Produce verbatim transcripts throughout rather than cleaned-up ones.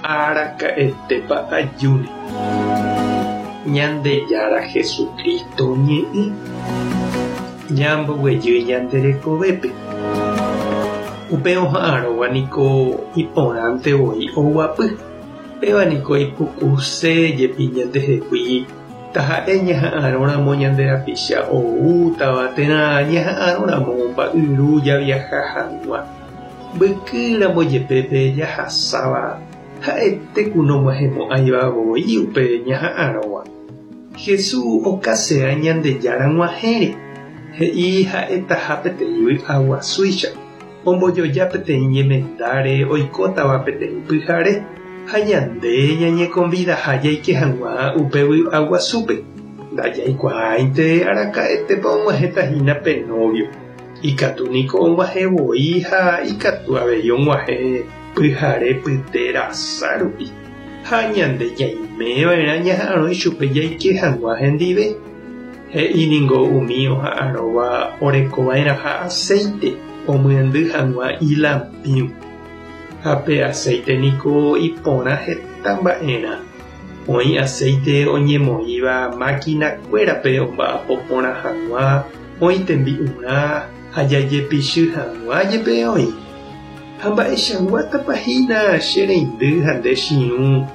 Araka'etépa ajúne. Ñandejára Jesucristo ñe'ẽ ñamboguejy ñande rekovépe. Upe oha'arõva niko iporãntevoi oguapy. Péva niko ipukuse jepi ñandehegui taha'e ñaha'arõramo ñande rapicha oútava térã ñaha'arõramo mba'yru javiaha hag̃ua. Mbykýramo jepe pe jahasáva ha'ete ku nog̃uahẽmo'ãivavoi upe ñaha'arõva. Jesús okasea Ñandejára g̃uahẽre. He'i ha'etaha peteĩ vy'aguasúicha. Ombojoja peteĩ ñemendáre oikótava peteĩ pyhare ha ñande ñañekonvidaha jaike hag̃ua upe vy'aguasúpe. Ndajaikuaáinte araka'etépa og̃uahẽtahína pe novio. Ikatu niko og̃uahẽvoi ha ikatu avei og̃uahẽ pyhare pyte rasa rupi. Ha ñande ñaimeva'erã ñaha'arõ ichupe jaike hag̃ua hendive. He'i ningo umi oha'arõva orekova'erãha aceite omyendy hag̃ua ilampĩu. Ha pe aceite niko iporã heta mba'erã. Oĩ aceite oñemoĩva maquinakuérape omba'apo porã hag̃ua, oĩ tembi'urã ha jajepichy hag̃ua jepe oĩ. Ha mba'eichaguátapahína che reindy ha nde chiũ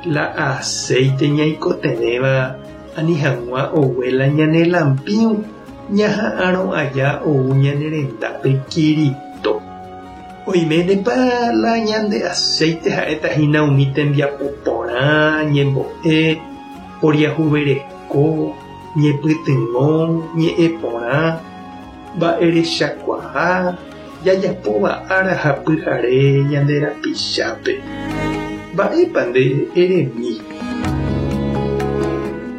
la aceite ñaikotevẽva ani hag̃ua ogue la ñane lampĩu ñaha'arõ aja ou ñane rendápe Kirito. Oiménepa la ñande aceite ha'etahína umi tembiapo porã, ñembo'e, poriahuvereko, ñepytyvõ, ñe'ẽ porã, mba'erechakuaa, jajapóva ára ha pyhare ñande rapichápe. Mba'épa nde eremi.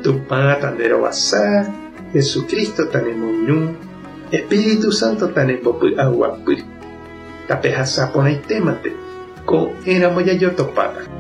Tupã tanderovasa, Jesucristo tanemoirũ, Espíritu Santo tanembopy'aguapy. Tapehasa porãitémante ko'ẽramo jajotopáta.